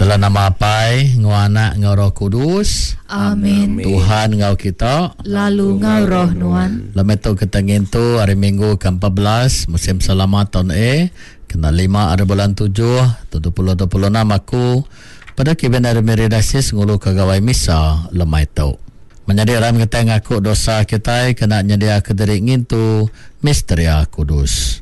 Dalam nama Apai, enggau Anak, enggau Roh Kudus. Amin. Tuhan enggau kita. Lalu enggau roh nuan. Lemai tu kita ngintu hari Minggu ke 14 musim selama taun A kena 5 hari bulan 7 tahun 2026 aku pada Kevin ari Miri Diocese ngulu ke gawai misa lemai tu. Menyadi aram kitai ngaku dosa kitai kena nyediaka diri ngintu misteria kudus.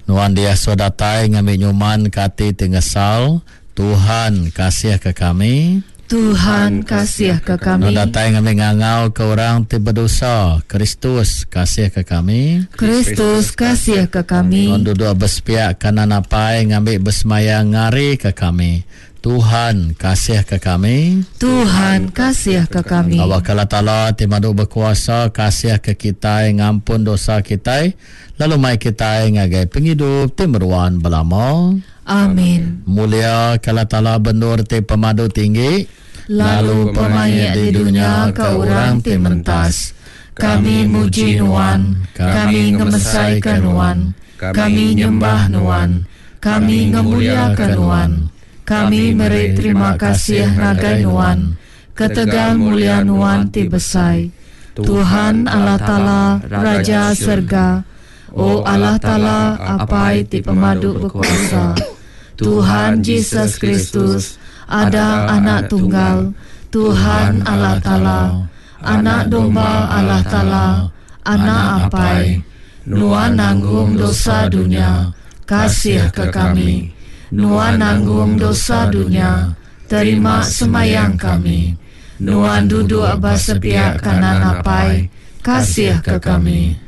Nuan diasuh datai ngambi nyuman ke ati ti ngesal, Tuhan, kasih ke kami. Tuhan, kasih ke kami. Nuan datai ngambi ngangau ke orang ti bedosa, Kristus, kasih ke kami. Kristus, kasih ke kami. Nuan duduk ba sepiak kanan Apai ngambi besemayang ngari ke kami, Tuhan, kasih ke kami. Tuhan, kasih ke kami. Awakka Allah Taala ti madu bekuasa kasih ke kitai ngampun dosa kitai lalu mai kitai ngagai pengidup ti meruan belama. Amin. Mulia ke Allah Taala ba endur ti pemadu tinggi, lalu pemaik di dunya ke orang ti mentas. Kami muji Nuan, kami ngemesaika Nuan, kami nyembah Nuan, kami ngemuliaka Nuan. Kami meri terima kasih ngagai Nuan ketegal mulia Nuan ti besai. Tuhan Allah Taala, Raja serega, O Allah Taala, Apai ti pemadu bekuasa, Tuhan Jesus Kristus, Ada Anak Tunggal, Tuhan Allah Taala, Anak Domba Allah Taala, Anak Apai, Nuan nanggung dosa dunya, kasihka kami. Nuan nanggung dosa dunya, terima sembayang kami. Nuan duduk ba sepiak kanan Apai, kasihka kami.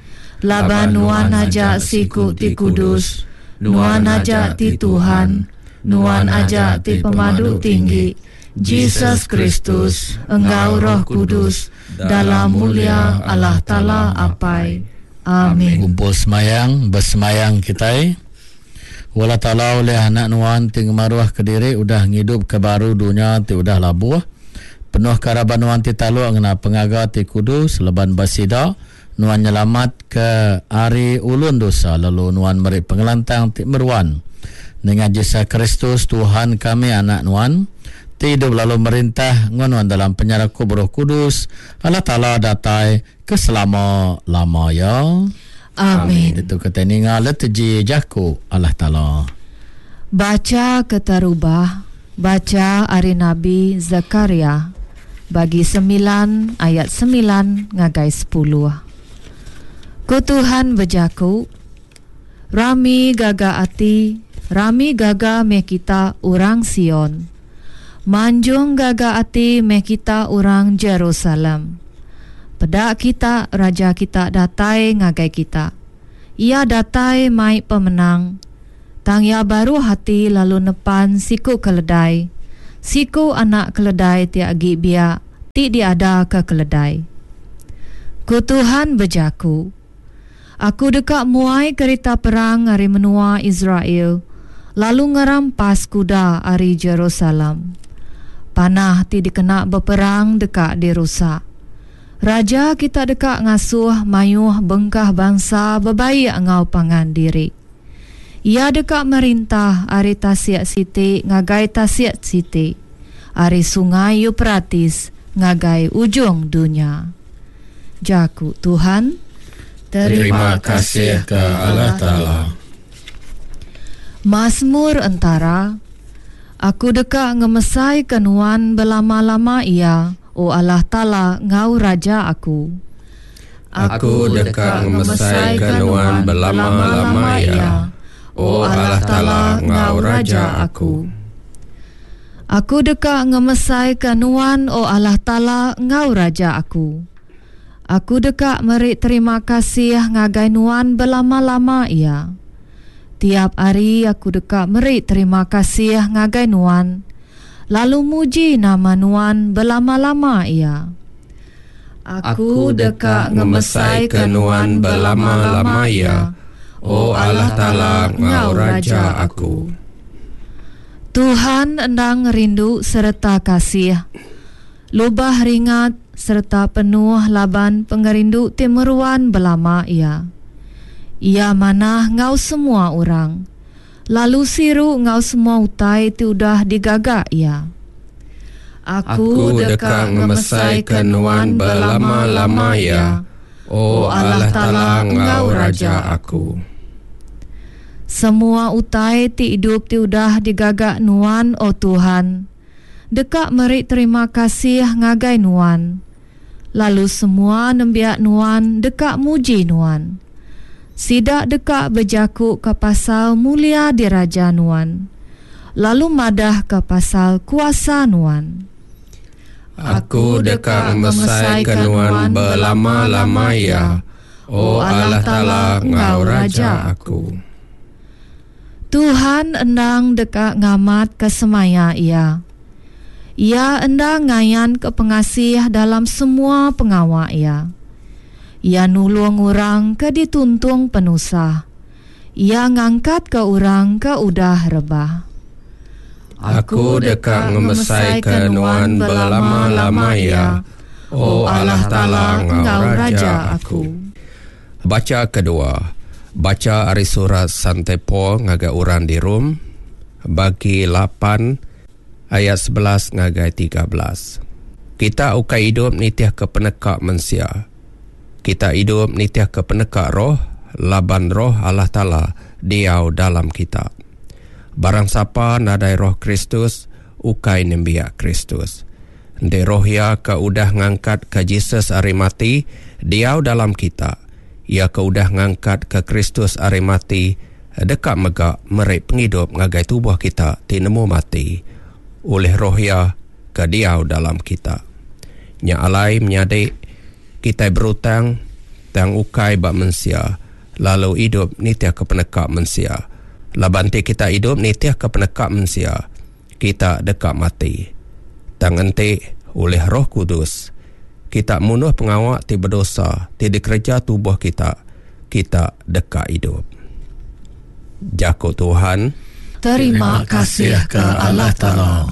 Laban Nuan aja siku ti kudus, Nuan aja ti Tuhan, Nuan aja ti Pemadu Tinggi, Jesus Kristus, enggau Roh Kudus, dalam mulia Allah Taala Apai. Amin. Gumpul semayang, besemayang kitai. O Allah Taala ulih Anak Nuan ti ngemaruhka diri udah ngidupka baru dunya ti udah labuh. Penuhka raban Nuan ti taluk ngena pengaga ti kudus laban ba sida Nuan nyelamatka ari ulun dosa lalu Nuan meri pengelantang ti meruan. Nengah Jesus Kristus Tuhan kami Anak Nuan, ti idup lalu merintah enggau Nuan dalam penyerakup Roh Kudus, Allah Taala datai ke selama-lama iya. Amin. Ditu kitai ninga liturgi jaku Allah Taala. Bacha keterubah, bacha ari Nabi Sekariah bagi semilan ayat semilan ngagai sepuluh. Ku Tuhan bejaku, Rami gaga ati, rami gaga meh kita orang Sion. Manjung gaga ati meh kita orang Jerusalem. Peda kita, Raja kita datai ngagai kita. Iya datai mai pemenang. Tang iya baruh ati lalu nepan siku keledai, siku anak keledai ti agi biak ti diadaka keledai. Ku Tuhan bejaku, Aku deka muai kerita perang ari menua Israel lalu ngerampas kuda ari Jerusalem. Panah ti dikena beperang deka dirusak. Raja kita deka ngasuh mayuh bengkah bansa bebaik enggau pangan diri. Iya deka merintah ari tasik siti ngagai tasik siti, ari Sungai Eupratis ngagai ujung dunya. Jaku Tuhan. Terima kasih ke Allah Taala. Masmur entara, Aku deka ngemesaika Nuan belama-lama iya, O Allah Taala enggau Raja aku. Aku deka ngemesaika Nuan belama-lama iya, O Allah Taala enggau Raja aku. Aku deka ngemesaika Nuan, O Allah Taala enggau Raja aku. Aku deka meri terima kasih ngagai Nuan belama-lama iya. Tiap hari aku deka meri terima kasih ngagai Nuan, lalu muji nama Nuan belama-lama iya. Aku deka ngemesaika Nuan belama-lama iya, O Allah Taala enggau Raja aku. Tuhan endang rindu sereta kasih, lubah ringat sereta penuh laban pengerindu ti meruan belama iya. Iya manah enggau semua orang. lalu siru enggau semua utai ti udah digaga Iya. Aku deka ngemesaika Nuan belama-lama iya, O Allah Taala enggau Raja aku. Semua utai ti idup ti udah digaga Nuan, O Tuhan, deka meri terima kasih ngagai Nuan, lalu semua nembiak Nuan deka muji Nuan. Sida deka bejakuka pasal mulia diraja Nuan, lalu madahka pasal kuasa Nuan. Aku deka ngemesaika Nuan belama-lama iya, O Allah Taala enggau Raja aku. Tuhan endang deka ngamatka semaya Iya. Iya endang ngayanka pengasih dalam semua pengawa Iya. Iya nulung orang ke dituntung penusah. Iya ngangkatka orang ke udah rebah. Aku deka ngemesaika Nuan belama-lama iya, O Allah Taala enggau Raja aku. Bacha kedua. Bacha ari surat Sante Paul ngagai orang di Rome, bagi lapan ayat 11 ngagai 13. Kita ukai idup nitihka peneka mensia. Kita idup nitihka peneka Roh, laban Roh Allah Taala diau dalam kita. Barang sapa nadai Roh Kristus, ukai nembiak Kristus. Enti Roh Iya ke udah ngangkatka Jesus ari mati diau dalam kita, Iya ke udah ngangkatka Kristus ari mati deka mega meri pengidup ngagai tubuh kita ti nemu mati, ulih Roh Iya ke diau dalam kita. Nya alai menyadi, kitai berutang, tang ukai ba mensia, lalu idup nitihka peneka mensia. Laban enti kita idup nitihka peneka mensia, kita deka mati. Tang enti, ulih Roh Kudus, kita munuh pengawa ti bedosa ti dikereja tubuh kita, kita deka idup. Jaku Tuhan. Terima kasih ke Allah Taala.